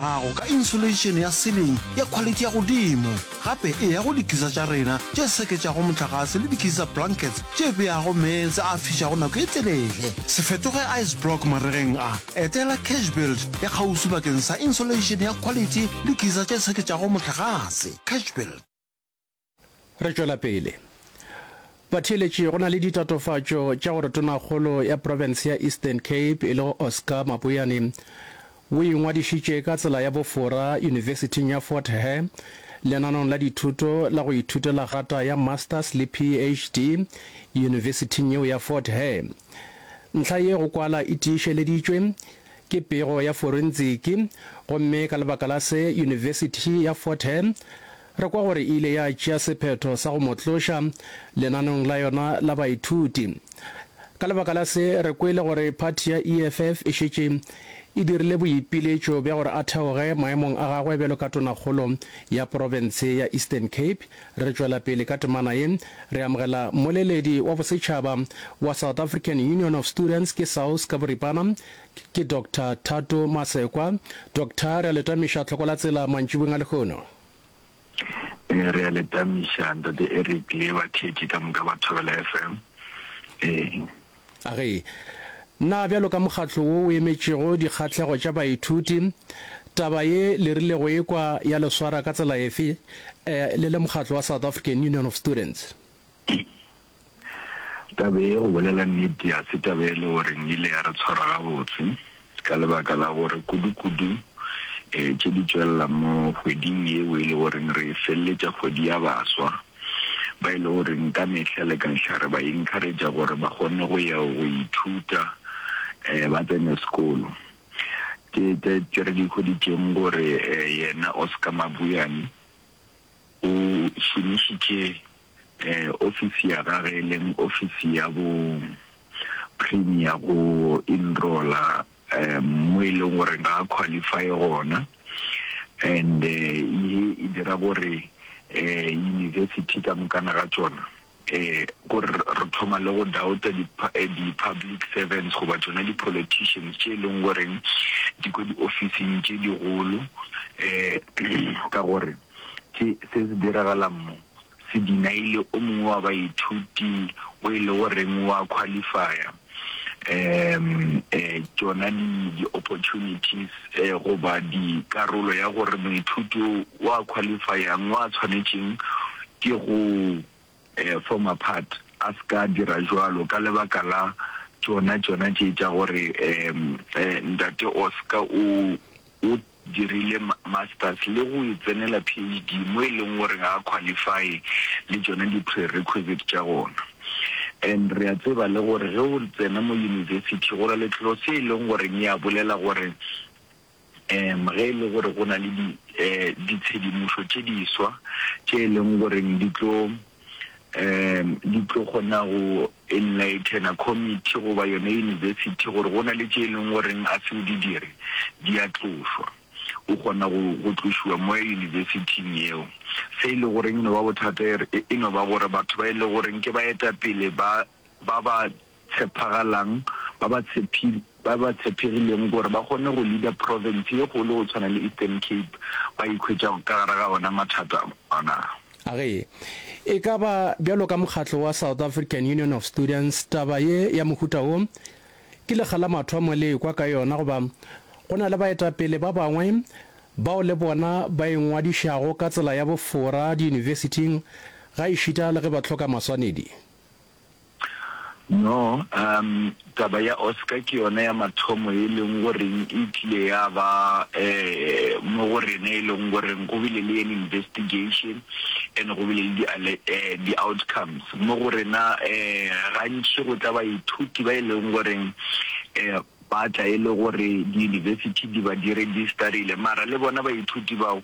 Gago ka insulation ya ceiling ya khwalithi ya godimo. Gape eya go dikisa tša rena tše seketšago mohlagase le dikisa blankets tše beago meetse a fišago nako e telele. Se fetoge ice block maregeng a. Etela Cashbuild ya kgauswi bakeng sa insulation ya khwalithi le kisa tše seketšago mohlagase. Cashbuild. Re tšwela pele. Batheeletši, go na le ditatofatšo tša gore Tonakgolo ya profense ya Eastern Cape e lego Oscar Mabuyane o ingwadišitše ka tsela ya bofora Yunibesithing ya Fort Hare lenaneong la dithuto la go ithutela grata ya Masters le PhD yunibesithing yeo ya Fort Hare. Ntlha ye go kwala e tiišeleditšwe ke pego ya forentsiki gomme ka lebaka la se Yunibesithi ya Fort Hare Re kwa gore e ile ya tšea sephetho sa go mo tloša lenaneong la yona la baithuti. Ka lebaka la se, re kwele gore phathi ya EFF e šetše e dirile boipiletšo bja gore a theoge maemong a gagwe bjalo ka tonakgolo ya profense ya Eastern Cape. Re tšwela pele ka temana ye, re amogela mmoleledi wa bosetšhaba wa South African Union of Students, ke SAUS ka boripana, ke Doctor Thato Masekwa. Doctor, re a le tamiša tlhoko la tsela mantšiboeng a lehono. Ee, re a le tamiša, Ntate Eric le batheetši ka moka ba Thobela FM. Ee. A ge, na bjalo ka mokgatlo wo o emetšego dikgahlego tša baithuti, taba ye le rile go ekwa ya le swara ka tsela efe, le le mokgatlo wa South African Union of Students? Taba ye, go bolela nnete, ga se taba e le goreng e ile ya re tshwara gabotse, ka lebaka la gore kudu-kudu tše di tšwelela mo kgweding yeo e le goreng re feleletša kgwedi ya baswa, ba e le goreng ka mehla le ka mehla re ba encourage-a gore ba kgone go ya go ithuta, ba tsene sekolo. Ke tše re di hweditšeng gore yena Oscar Mabuyane o šomišitše Ofisi ya gage e leng ofisi ya bo premier go enrolla mo e leng gore ga a qualify gona and ye e dira gore university ka mokana ga tšona gore re thoma le go doubta di-public servants goba tšona di-politicians tše e leng goreng di ko di-ofising tše digolo ka gore se se diragalang mo se dinaile o mongwe wa baithuti o e le goreng wa qualifya um tšona di di-opportunities goba dikarolo ya gore moithuti o wa qualifyang wa tshwanetšeng ke go former part a se ka dira jwalo ka lebaka la tšona tšona tše tša gore um ntate Oscar o o dirile masters le go e tsenela PhD mo e leng gore ga a qualify le tšona di prerequisite tša gona. And re a tseba le gore ge o tsena mo university go na le clause e leng gore e a bolela gore um ge e le gore go na le di ditshedimošo tše diswa tše e leng gore di tlo um di tlo kgona go enlightena committee goba yone university gore go na le tše e leng goreng a se o di dire, di a tlošwa. O kgona go, go tlošiwa mo university-ing yeo. Se e le goreng e no ba bothata e, e no ba gore batho ba e le goreng ke baetapele ba, ba ba tshepagalang, ba ba tshepi, ba ba tshepegileng gore ba kgone go leader province ye kgolo go tshwana le Eastern Cape, ba ikhwetša ka gare ga ona mathata ona. A re, E ka ba bjalo ka mokgatlo wa South African Union of Students, taba ye ya mohuta wo ke lekga la mathomo le ekwa ka yona goba go na le baetapele ba bangwe bao le bona ba ingwadišago ka tsela ya bofora diyunibesithing gaešita le ge ba hloka maswanedi. No, um, taba ya Oscar ke yona ya mathomo e leng goreng e tlile ya ba eh, mo go rena e leng goreng go bile le an investigation and go bile le di, eh, di outcomes mo go rena. Eh, gantši go tla baithuti ba e leng goreng eh, ba tla e le gore diyunibesithi di ba di registerile, mara le bona baithuti bao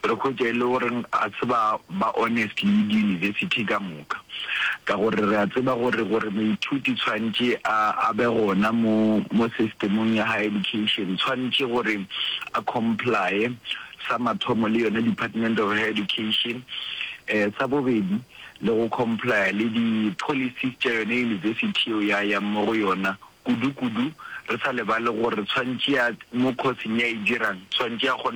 re hwetša e le gore ga se ba ba honest le diyunibesithi ka moka, ka gore re a tseba gore gore moithuti tshwantše a a be gona mo mo systemong ya higher education tshwantše gore a complye sa mathomo le yona Department of Higher Education, eh, sa bobedi le go complya le di policies tša yona yunibesithi yeo ya yang mo go yona. Kudu-kudu, Re sa lebale gore tshwantše ya mo course-eng ye a e dirang, tshwantše a kgone.